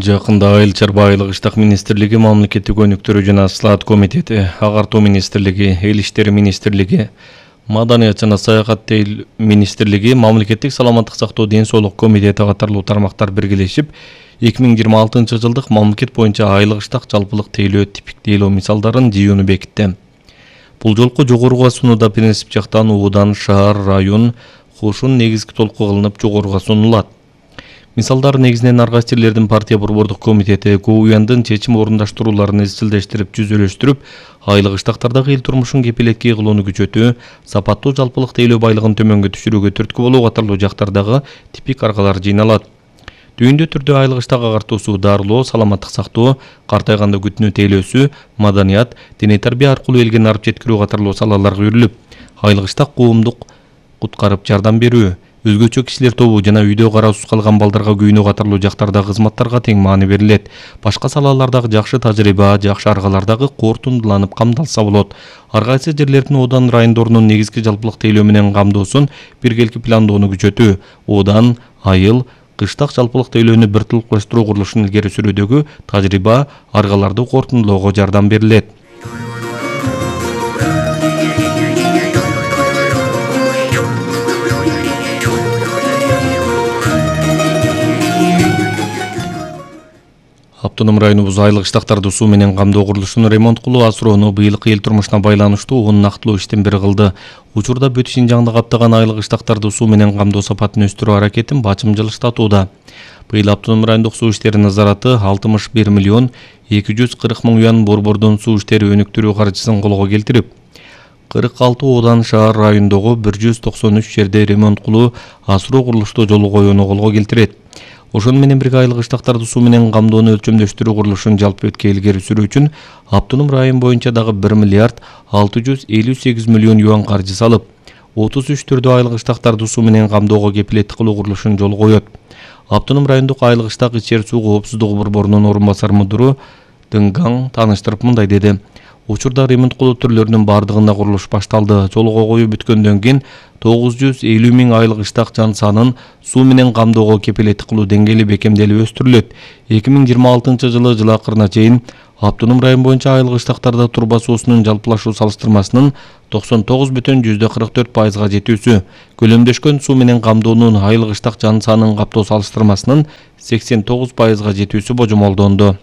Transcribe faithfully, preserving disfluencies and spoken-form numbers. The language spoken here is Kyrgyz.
Жакында Айыл чарба айлык иштак министрлиги, мамлекеттик өнүктүрүү жана слаат комитети, агартуу министрлиги, эл иштери министрлиги, маданият жана саякат министрлиги, мамлекеттик саламаттык сактоо ден соолук комитети катарлуу тармактар биргелешип, эки миң жыйырма алтынчы жылдык мамлекет боюнча айлык иштак жалпылык тейлөө типиктээлөө мисалдарын жыюуну бекитти. Бул жолку жогоруга сунууда принцип жактан уудан шаар, район, кошун негизги толку кылынып жогоруга сунулат. Мисалдар негизинен ар кайсы жерлердин партия борбордук комитети КУЯндын чечим орундаштырууларын изчилдештирип, жүзөлөштүрүп, айлык иштактардагы эл турмушун кепилетке кылууну күчөтүү, сапаттуу жалпылык тейлөө байлыгын төмөнгө түшүрүүгө түрткү болуу катарлуу жактардагы типик аргалар жыйналат. Түйүндө түрдө айлык иштак агартуусу, дарылоо, саламаттык сактоо, картайганда күтүнүү тейлөөсү, маданият, диний тарбия аркылуу элге нарып жеткирүү катарлуу салаларга үйрүлүп, айлык иштак коомдук куткарып жардам берүү, өзгөчө кишилер тобу жана үйдө караусуз калган балдарга күйүнүү катарлуу жактардагы кызматтарга тең маани берилет. Башка салалардагы жакшы тажрыйба, жакшы аргалардагы кортундуланып камдалса болот. Ар кайсы жерлердин оодан райондорунун негизги жалпылык тейлөө менен камдоосун биргеликти пландоону күчөтүү, оодан, айыл, кыштак жалпылык тейлөөнү бир толукташтыруу курулушун илгери сүрүүдөгү тажрыйба, аргаларды кортундулоого жардам берилет. Автоном районубуз айлык иштактарды суу менен камдоо курулушун ремонт кылуу, асыроону быйылкы эл турмушуна байланыштуу он нактылуу иштин бири кылды. Учурда бүт Шинжаңды каптаган айлык иштактарды суу менен камдоо сапатын өстүрүү аракетин бачым жылыштатууда. Быйыл автоном райондук суу иштери назараты алтымыш бир миллион эки жүз кырк миң юан борбордон суу иштери өнүктүрүү каржысын колго келтирип, кырк алты оодан шаар райондогу бир жүз токсон үч жерде ремонт кылуу, асыроо курулушту жолго коюуну колго келтирет. Ошону менен бирге айлык иштактарды суу менен камдоону өлчөмдөштүрүү курулушун жалпы өткө илгери сүрүү үчүн автоном район боюнча дагы бир миллиард алты жүз элүү сегиз миллион юан каржы салып, отуз үч түрдүү айлык иштактарды суу менен камдоого кепилеттик кылуу курулушун жолго коет. Автоном райондук айлык иштак ичер суу коопсуздугу борборунун орун басар мудуру Дыңгаң тааныштырып мындай деди. Учурда ремонт кылуу түрлөрүнүн бардыгында курулуш башталды. Жолго коюу бүткөндөн кийин тогуз жүз элүү миң айлык иштак жан санын суу менен камдоого кепилеттик кылуу деңгээли бекемделип өстүрүлөт. эки миң жыйырма алтынчы жылы жыл акырына чейин автоном район боюнча айлык иштактарда турба суусунун жалпылашуу салыштырмасынын токсон тогуз бүтүн жүздө кырк төрт пайызга жетүүсү, көлөмдөшкөн суу менен камдоонун айлык иштак жан санын каптоо салыштырмасынын сексен тогуз пайызга жетүүсү божомолдонду.